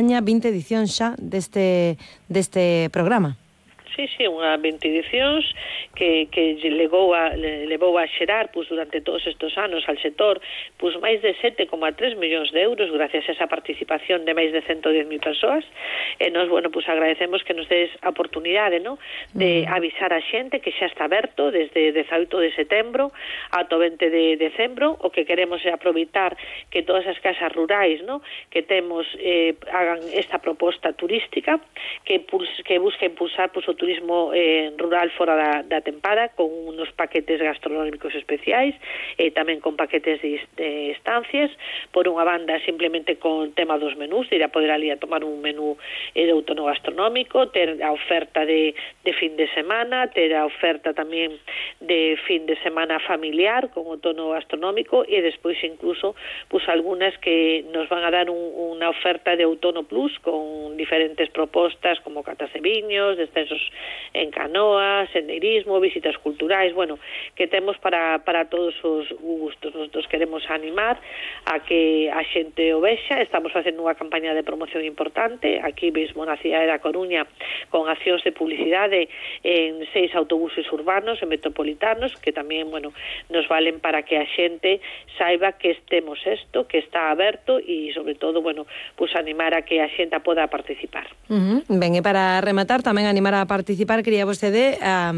20 edicións xa deste programa. Sí, unha 20 edicións que levou a xerar durante todos estes anos al sector máis de 7,3 millóns de euros gracias a esa participación de máis de 110.000 persoas. E nos, agradecemos que nos des a oportunidade, de avisar a xente que xa está aberto desde 18 de setembro ata o 20 de decembro. O que queremos é aproveitar que todas as casas rurais, que temos hagan esta proposta turística que busca impulsar o turismo rural fora da tempada, con unos paquetes gastronómicos especiais e tamén con paquetes de estancias. Por unha banda, simplemente con tema dos menús, de ir a poder ali a tomar un menú de outono gastronómico, ter a oferta de fin de semana, ter a oferta tamén de fin de semana familiar con outono gastronómico, e despois incluso algunas que nos van a dar unha oferta de outono plus con diferentes propostas como catas de viños, descensos en canoa, sendeirismo, visitas culturais, que temos para todos os gustos. Nosotros queremos animar a que a xente o vexa. Estamos facendo unha campaña de promoción importante aquí mesmo na cidade da Coruña, con accións de publicidade en 6 autobuses urbanos e metropolitanos que tamén, nos valen para que a xente saiba que temos isto, que está aberto, e sobre todo, animar a que a xente poda participar. Ben, e para rematar, tamén animar a participar, quería vostede a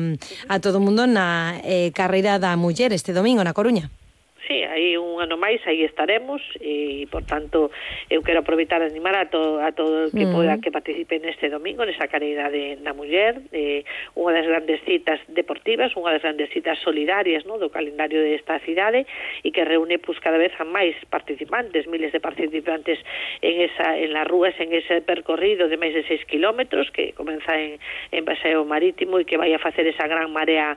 todo o mundo na carreira da muller este domingo na Coruña. Sí, aí un ano máis, aí estaremos, e, por tanto, eu quero aproveitar a animar a todo o que poda que participe neste domingo, nesa carreira da muller, unha das grandes citas deportivas, unha das grandes citas solidarias, do calendario desta cidade, e que reúne cada vez a máis participantes, miles de participantes en las rúas, en ese percorrido de máis de 6 kilómetros, que comeza en Paseo Marítimo e que vai a facer esa gran marea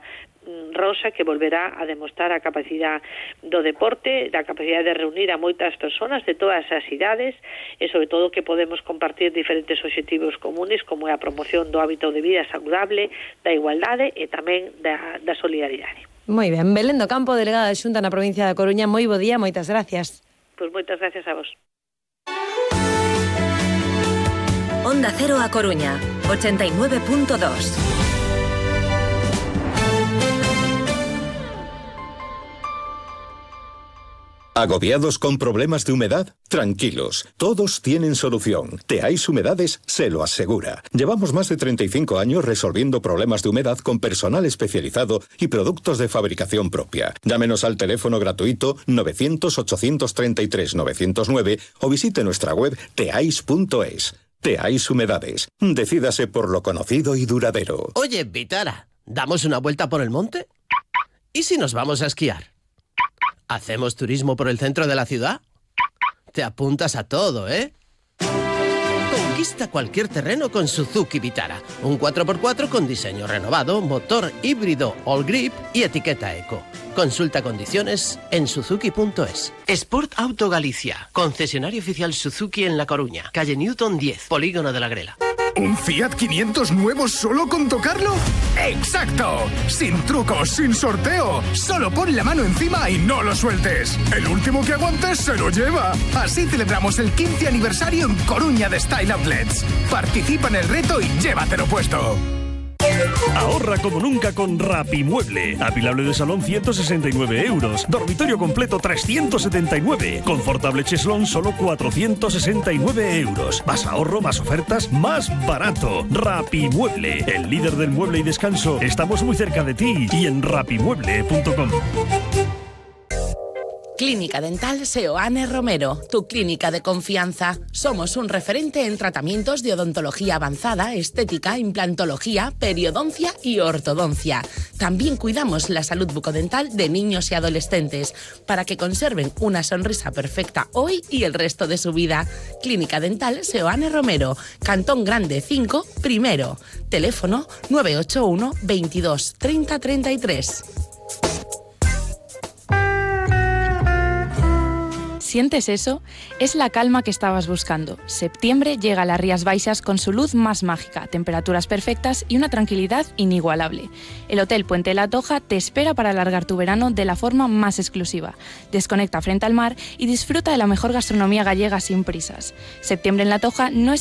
rosa, que volverá a demostrar a capacidade do deporte, da capacidade de reunir a moitas persoas de todas as idades, e sobre todo que podemos compartir diferentes obxectivos comunes, como é a promoción do hábito de vida saludable, da igualdade e tamén da solidaridade. Moi ben, Belén do Campo, delegada de Xunta na provincia da Coruña, moi bo día, moitas gracias. Pois moitas gracias a vos. Onda Cero a Coruña, 89.2. ¿Agobiados con problemas de humedad? Tranquilos, todos tienen solución. Teais Humedades se lo asegura. Llevamos más de 35 años resolviendo problemas de humedad con personal especializado y productos de fabricación propia. Llámenos al teléfono gratuito 900-833-909 o visite nuestra web teais.es. Teais Humedades. Decídase por lo conocido y duradero. Oye, Vitara, ¿damos una vuelta por el monte? ¿Y si nos vamos a esquiar? ¿Hacemos turismo por el centro de la ciudad? Te apuntas a todo, ¿eh? Conquista cualquier terreno con Suzuki Vitara. Un 4x4 con diseño renovado, motor híbrido All Grip y etiqueta Eco. Consulta condiciones en suzuki.es. Sport Auto Galicia. Concesionario oficial Suzuki en La Coruña. Calle Newton 10, Polígono de la Grela. ¿Un Fiat 500 nuevo solo con tocarlo? ¡Exacto! Sin trucos, sin sorteo. Solo pon la mano encima y no lo sueltes. El último que aguantes se lo lleva. Así celebramos el 15 aniversario en Coruña de Style Outlets. Participa en el reto y llévatelo puesto. Ahorra como nunca con Rapimueble. Apilable de salón 169 euros. Dormitorio completo 379. Confortable cheslón solo 469 euros. Más ahorro, más ofertas, más barato. Rapimueble, el líder del mueble y descanso. Estamos muy cerca de ti y en rapimueble.com. Clínica Dental Seoane Romero, tu clínica de confianza. Somos un referente en tratamientos de odontología avanzada, estética, implantología, periodoncia y ortodoncia. También cuidamos la salud bucodental de niños y adolescentes para que conserven una sonrisa perfecta hoy y el resto de su vida. Clínica Dental Seoane Romero, Cantón Grande 5, primero. Teléfono 981 22 30 33. ¿Sientes eso? Es la calma que estabas buscando. Septiembre llega a las Rías Baixas con su luz más mágica, temperaturas perfectas y una tranquilidad inigualable. El Hotel Puente de la Toja te espera para alargar tu verano de la forma más exclusiva. Desconecta frente al mar y disfruta de la mejor gastronomía gallega sin prisas. Septiembre en la Toja no es